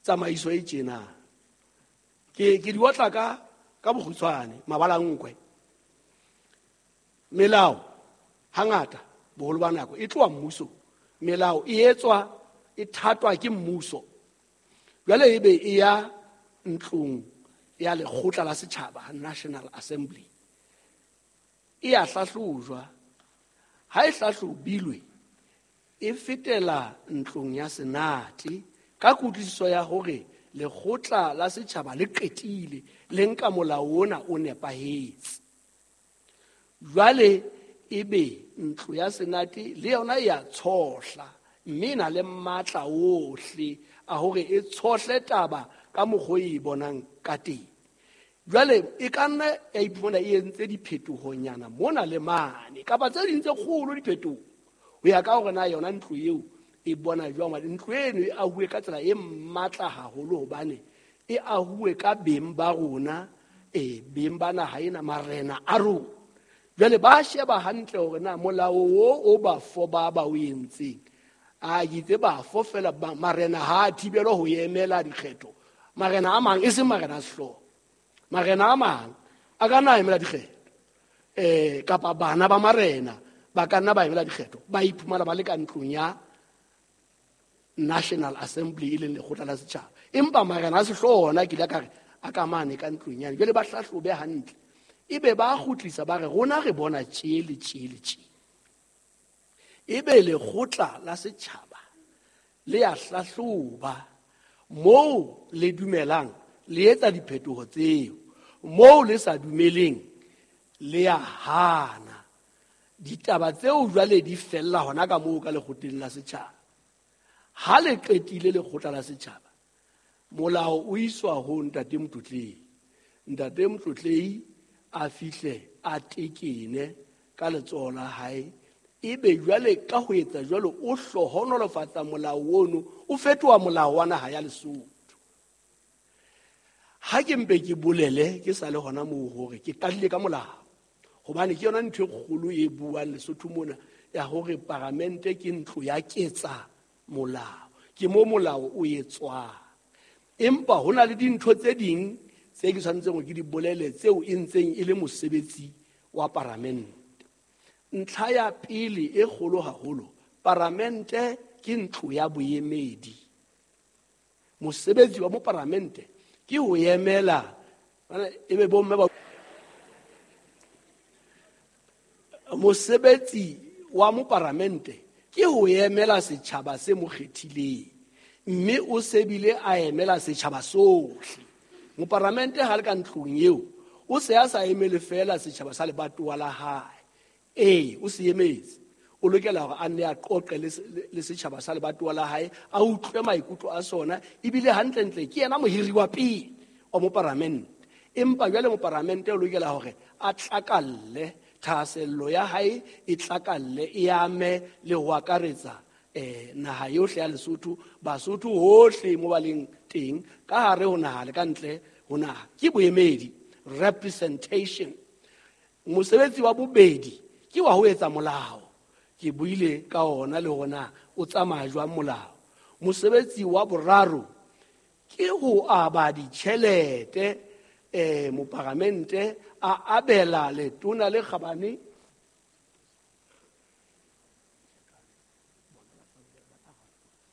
Tsamaiso e tjena. Ke di otla ka bokgutshwane, mabalankwe. Melao hangata boholo ba nako e tloha mmusong. Melao e etswa e thatwa ke mmuso. Jwale ebe e ya ntlong ya lekgotla la setjhaba, National Assembly. E a hlahlojwa. Ha e hlahlobilwe, e fetela ntlong ya Senate ka kutlwisiso ya hore lekgotla la setjhaba le qetile, le nka molao ona o nepahetse. Jwale ebe ntlo ya Senate le yona e a tshohla, mme e na le matla ohle a hore e tshohle taba ka mokgwa o e bonang ka teng. Jwale e ka nna ya iphumana e entse diphetohonyana mona le mane, kapa tse ding tse kgolo diphetoho, ho ya ka hore na yona ntlo eo e bona jwang. Hobane ntlo eno e ahuwe ka tsela e matla haholo, hobane e ahuwe ka beng ba rona, beng ba naha ena, marena a rona. Jwale ba sheba hantle hore na molao o bafo ba o entseng, a itse bafo fela, marena ha a thibelwa ho emela dikgetho. Marena a mang, e seng marena a sehlooho, marena a mang a ka nna a emela dikgetho, kapa bana ba marena ba ka nna ba emela dikgetho, ba iphumana ba le ka ntlong ya National Assembly, e leng lekgotla la setjhaba. Empa marena a sehlooho ona ke ile ka re a ka mane ka ntlong yane. Jwale ba hlahlobe hantle, ebe ba kgutlisa ba re rona re bona tje le tje le tje. Ebe lekgotla la setjhaba le a hlahloba moo le dumelang, le etsa diphetoho tseo, moo le sa dumeleng le a hana. Ditaba tseo jwale di fella hona ka moo ka lekgotleng la setjhaba. Ha le qetile lekgotla la setjhaba, molao o iswa ho Ntate Motlotlehi. Ntate Motlotlehi a fihle a tekene ka letsoho la hae, ebe jwale ka ho etsa jwalo o hlohonolofatsa molao ono, o fetoha molao wa naha ya Lesotho. Ha ke mpe ke bolele ke sa le hona moo hore ke qadile ka molao, hobane ke yona ntho e kgolo e buang Lesotho mona ya hore paramente ke ntlo ya ketsa molao, ke mo molao o etswang. Empa ho na le dintho tse ding tse ke tshwanetseng hore ke di bolele tseo e ntseng e le mosebetsi wa paramente. Ntlha ya pele e kgolo haholo, paramente ke ntlo ya boemedi. Mosebetsi wa moparamente ke ho emela, ebe bomme ba mosebetsi wa moparamente ke ho emela setjhaba se mo kgethileng, mme o sebile a emela setjhaba sohle. Moparamente ha le ka ntlong eo, o se a sa emele feela setjhaba sa lebatowa la hae. Ee, o se emetse. O lokela hore a nne a qoqe le setjhaba sa lebatowa la hae, a utlwe maikutlo a sona, ebile hantlentle ke yena mohiri wa pele wa moparamente. Empa jwale moparamente o lokela hore a tlakalle, thahasello ya hae e tlakalle, e ame le ho akaretsa naha yohle ya Lesotho, Basotho hohle mo ba leng teng, ka hare ho naha le ka ntle ho naha. Ke boemedi, representation. Mosebetsi wa bobedi ke wa ho etsa molao. Ke buile ka ona le hona o tsamaya jwang molao. Mosebetsi wa boraro ke ho aba ditjhelete, moparamente a abela letona le kgabane